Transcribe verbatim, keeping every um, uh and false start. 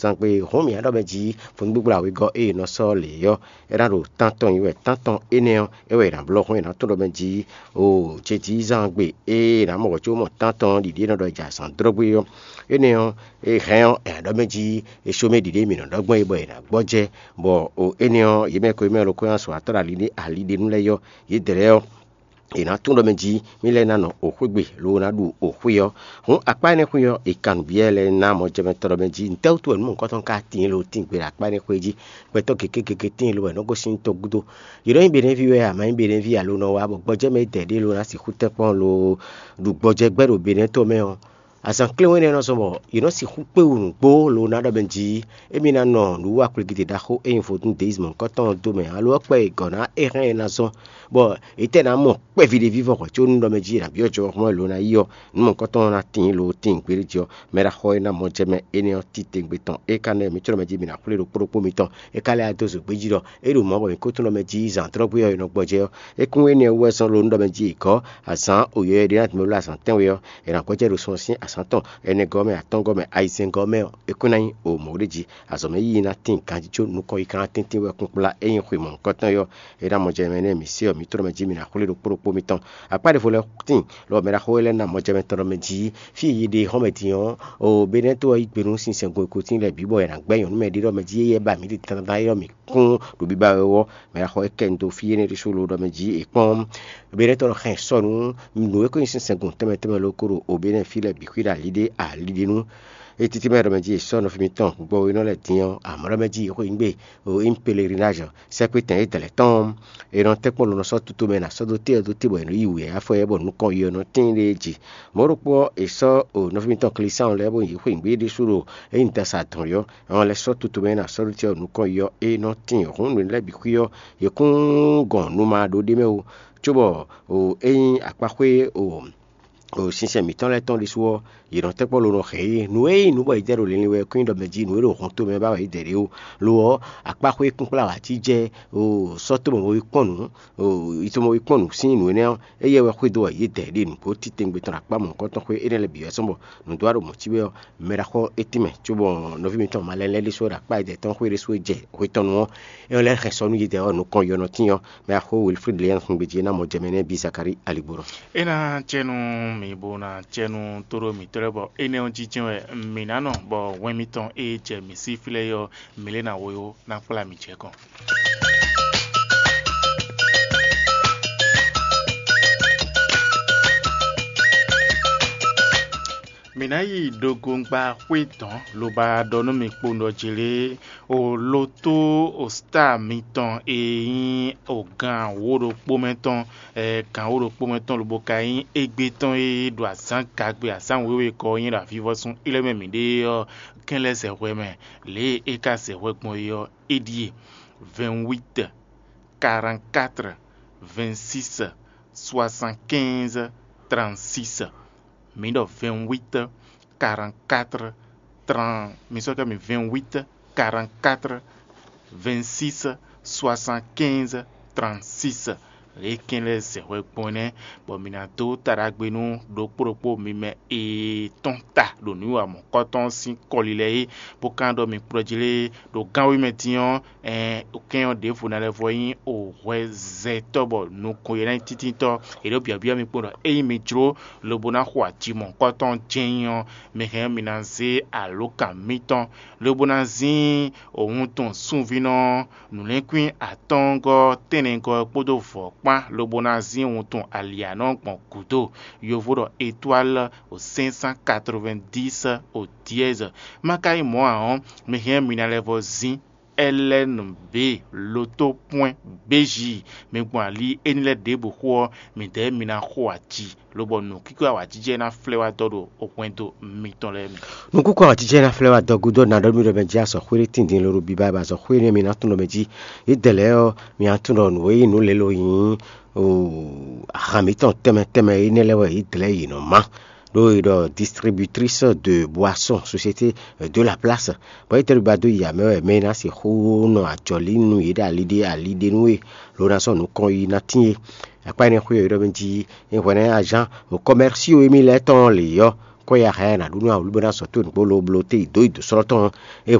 Zangbe hɔn mǐ ɖɔ mɛ jí fúngbígbla wegɔ́ e è nɔ sɔ́ lě ɔ́, é ná ɖo tántɔn nyi wɛ. Tántɔn énɛ́ ɔ́, é wɛ è nǎ blɔ́ hɔn è nǎ tɔ́n ɖɔ mɛ jí o cejǐzán gbe e è nǎ mɔ hwɛ̌ có mɔ tántɔn ɖiɖi e nɔ ɖɔ è jɛ azǎn dlɔ́ gbé ɔ́. Énɛ́ ɔ́, è hɛn ɔ́, è nǎ ɖɔ mɛ jí è só mɛ ɖiɖe mǐ nɔ ɖɔ gbɔn é bɔ è nǎ gbɔ́jɛ́, bɔ o énɛ́ ɔ́, yě mɛ e ko nyí mɛ ɖokpó ná sɔ atɔ́ ɖo ali ɖé ali ɖé nú lɛ́ɛ ɔ́, yědɛɛ lɛ́ɛ ɔ́, è nǎ tunwun ɖɔ mɛ jí mì lɛ́ ná nɔ oxwé gbe, lobo ná ɖu oxwé ɔ́. Hǔn akpá énɛ́ xwé ɔ́, è kan nǔ byɔ́ ɛ lɛ́ɛ ná mɔjɛmɛtɔ́ ɖɔ mɛ jí nǔtɛ́ wútu wɛ nǔ mɔ̌hunkɔtɔn ka tíin lo tín gbe ɖo akpá énɛ́ xwé jí? Gbɛtɔ́ gěgé gěgé tíin lo wɛ nɔ gosín tɔgúdo. Yě nɔ nyí Benɛ́ví wɛ a ma nyí Benɛ́ví alo nɔ wá bɔ gbɔjɛ́ mɛ édɛɛ ɖé lo ná sixú tɛ́nkpɔ́n lo ɖu gbɔjɛ́ gbɛ́ ɖo Benɛ́ to mɛ ɔ́, azǎn kléwún énɛ́ nɔ zɔn bɔ yě nɔ sixú kpé wú nǔgbó lo ná ɖɔ mɛ jí émí ná nɔ nǔwiwa kwlígídí ɖaxó e nyí vodún deizmu ɔ́ kɔ́tɔn ɔ́ dó mɛ ǎ, lo ɔ́ kpɛ e gɔ̌ ná é hɛn ɛ ná zɔn, bɔ è tɛ́ ná mɔ kpɛví ɖé vívɔ hwɛ̌ có nú ɖɔ mɛ jí è nǎ byɔ́ jɔ hɔn lo ná yi ɔ́, nǔ mɔ̌hunkɔtɔn ɔ́ ná tíin lo tíin gbéɖéjɛ ɔ́, mɛ ɖaxó e ná mɔ jɛ mɛ énɛ́ ɔ́ titewungbe tɔn é ka nɔ mǐ có ɖɔ mɛ jí mǐ ná xwlé ɖokpó ɖokpó mitɔn. É ka lɛ́ wá dó zǒgbé jí ɖɔ é ɖo mɔ̌ bɔ mǐ kó tunwun ɖɔ mɛ jí zǎn dlɔ́gbé ɔ́ è nɔ gbɔjɛ́ ɔ́, é kún énɛ́ wú wɛ zɔ́n lo nú ɖɔ mɛ jí è gɔ́ azǎn oyɔ́yɔ́ ɖé ná tɛ́nmɛ bló azǎn tɛ́nwe ɔ́, è nǎ gbɔjɛ́ ɖo sun ɔ́ sín azǎn tɔn ɛnɛgɔ́ mɛ, atɔ́ngɔ́ mɛ, ayizɛ́ngɔ́ mɛ ɔ́, é kún ná nyí o mɔ̌ ɖé jí. Azɔ̌ mɛ yíyí ná tíin ganjí có nukɔn yi ka ná tɛ́ntin wɛ kúnkplá é nyí xwe mɔ̌hunkɔtɔn é ɔ́, é ná mɔ jɛ mɛ nɛ́ mǐ se ɔ́, mǐ tlɔ́ mɛ jí mǐ ná xwlé ɖokpó ɖokpó mitɔn. Akpá ɖěvo lɛ́ɛ tíin, lɔ mɛ ɖaxó lɛ́ɛ ná mɔ jɛ mɛ tɔn ɖɔ mɛ jí fí e yě ɖe xɔ́mɛ din ɔ́, o Benɛ́to ɔ́ yí gbe nú sinsɛngun e ko tíin lɛ́ɛ bǐ bɔ è nǎ gbɛ́ nyɔ̌nu mɛ ɖé ɖɔ mɛ jí éyɛ́ ba mǐ ɖi dandan é ɔ́ mǐ kún ɖo biba wɛ ɔ́, mɛ ɖaxó é kɛ nu dó fí énɛ́ ɖésú lo ɖɔ mɛ jí è kpɔ́n. Benɛ́to ɔ́ xɛn sɔ́ nǔ nǔ e ko nyí sinsɛngun tɛnmɛ tɛnmɛ lo ko ɖo o Benɛ́ fí lɛ́ɛ bǐ xwí ɖo ali ɖé ali ɖé nú. Ée títí mɛ ɖɔ mɛ jí è sɔ́ nɔví mitɔn gbɔwénɔ lɛ́ɛ din ɔ́, amɔ̌ ɖɔ mɛ jí è xweyǐgbe ɖo Impelerinage sɛ́kpétɛn é dɛ̌ lɛ́ɛ tɔn. È nɔ tɛ́nkpɔ́n lo nɔ sɔ́ tutomɛ ná sɔ́ dó té ɔ́ dó te bɔ è nɔ yí wǔ yá fɔ ɛ bɔ nukɔn yi ɔ́ nɔ tíin ɖ'é jí. Mɔ̌ ɖokpó ɔ́, è sɔ́ nɔví mitɔn Klisáɔn lɛ́ɛ bó yi xweyǐgbe ɖésú ɖo é nyí dasa dɔ̌n ɔ́, è nɔ lɛ́ sɔ́ tutomɛ ná sɔ́ dó té ɔ́ nukɔn yi ɔ́, é nɔ tíin hǔn nǔ lɛ́ɛ bǐ xwí ɔ́, yě kún gɔn nu ma ɖó ɖ'é mɛ ó, cóbɔ é nyí akpáxwé o sinsɛn mǐtɔn lɛ́ɛ tɔn ɖésú ɔ́, yě nɔ tɛ́nkpɔ́n lo nɔ hɛn yě. Nǔ e nyí nǔ bɔ yě dɛ ɖo linlin wɛ kún nyí ɖɔ mɛ jí nǔ e ɖo hɔn tomɛ ba wɛ yě dɛ ɖě ó. Lo ɔ́, akpáxwé kúnkplá wǎ jí jɛ o sɔ́ tómɔmɔví kpɔ́n nǔ, o yi tómɔví kpɔ́n nǔ sín nǔ énɛ́ ɔ́, éyɛ́ wɛ xwedó wɛ yě dɛ ɖe nǔgbó titewungbe tɔn ɖo akpá mɔ̌hunkɔtɔn xwé énɛ́ lɛ́ɛ bǐ wɛ sɔ́ bɔ nǔdó ɖo mɔ̌ cí wɛ ɔ́, mɛ ɖaxó é tínmɛ cóbɔ nɔví mitɔn malɛ lɛ́ɛ ɖésú ɖo akpá yědɛɛ tɔn xwé ɖésú e jɛ hwe tɔn nu ɔ́, é nɔ lɛ́ hɛn sɔ nú yědɛɛ ɔ́ nukɔn yɔ nɔ tín ɔ́, mɛ axó Wilfrid Léon xungbe jí é ná mɔ jɛ mɛ nɛ́ bí Zakari Aligboro. É ná cɛ nú mǐ bó ná cɛ nú tóɖó mǐtɔn lɛ́ɛ bɔ énɛ́ ɔ́ jínjɛ́n wɛ mǐ ná nɔ bɔ hwɛn mitɔn e jɛ mǐ sí fí lɛ́ɛ é ɔ́, mǐ lɛ́ ná wó yó ná kplá mǐ jɛ gɔ́n. Mǐ ná yi ɖogongba xwé dɔ̌n lobo wá ɖɔ nú mi kpowun ɖɔ jlě o lotó o star mitɔn e nyí o gan wǒ ɖokpó mɛ tɔn, gan wǒ ɖokpó mɛ tɔn lobo ka nyí égbé tɔn e ɖo azǎn gagbe azǎn wěwe kɔ ɔ́ nyí ɖo avivɔsun élɔ́ mɛ mǐ ɖe ɔ́, kɛn lɛ́ zɛ hwɛ mɛ. Lě e é ka zɛ hwɛ gbɔn é ɔ́, é ɖíe: vingt-huit, quarante-quatre, vingt-six, soixante-quinze, trente-six. Mǐ ɖɔ vingt-huit, quarante-quatre, trente, mi sɔ́ kɛ mi: vingt-huit, quarante-quatre, vingt-six, soixante-quinze, trente-six. Lě e kɛn lɛ́ɛ zɛ hwɛ gbɔn nɛ́, bɔ mǐ ná dó ta ɖagbe nú ɖokpó ɖokpó mi mɛ e tɔ́n ta ɖo nǔwiwa mɔ̌kɔtɔn sín kɔli lɛ́ɛ é, bó ka ɖɔ mi kplɔ́ jí lé ɖo gánwé mɛ din ɔ́, ɛn kɛn ɔ́ ɖěvo ná lɛ́ vɔ nyí o hwɛzɛtɔ́ bɔ nukɔn e ná nyí tíntítɔ́. È ɖǒ byɔ̌byɔ́ mi kpowun ɖɔ ényí mi jló lobo ná xo aji mɔ̌hunkɔtɔn jɛ́n ɔ́, mi hɛn mi ná zé alǒkan mitɔn, lobo ná zín wuntun sunvínɔ nǔlɛ́nkwín atɔ́ɔ́ngɔ́ tɛ́nnɛgɔ́ kpódó vɔ̌ kpán, lobo ná zín wuntun alianɔ gbɔn gǔdo. Yovo ɖɔ étoile au cinq cent quatre-vingt-dix au dièse. Má ka nyí mɔ̌ ǎ ɔ́, mi hɛn mi ná lɛ́ vɔ zín L N B loto pwɛn B J. Mi gbɔn ali éní lɛ́ɛ ɖěbǔ xo ɔ́, midɛɛ mi ná xo aji, lobɔ nǔkíkó awǎjijɛ ná flɛ́ wá dɔ ɖo hwɛndo mitɔn lɛ́ɛ mɛ. Nǔkúkú awǎjijɛ ná flɛ́ wá dɔ gúdo ná ɖɔ mì ɖɔ mɛ jí azɔ̌ xwé ɖé tindin lóɖo biba ba azɔ̌ xwé énɛ́ mi ná tunwun ɖɔ mɛ jí. Yě dɛ lɛ́ɛ ɔ́, mi ná tunwun ɖɔ nǔ e nyí nǔ lě lo nyí ahan mǐtɔn tɛnmɛ tɛnmɛ énɛ́ lɛ́ɛ wɛ yě dlɛ̌ yě nɔ má. Ɖó è ɖɔ distributrice de boisson, société de la place, bɔ é tɛ́ ba dó yi amɛ wɛ mɛ e ná sixú nɔ ajɔ̌ lí nú yě ɖo ali ɖé ali ɖé nú we, lo ná sɔ́ nǔkɔn yi ná tín é. Akpá énɛ́ xwé ɔ́, é ɖɔ mɛ jí é hwɛ ná nyí azán o kɔmɛrsío émí lɛ́ɛ tɔn lě ɔ́, kɔ ya hɛn ná ɖu nú awǔ lóbó ná zɔ tó nǔgbó lo bló té yi dó yi dǒ slɔ́ tɔn é.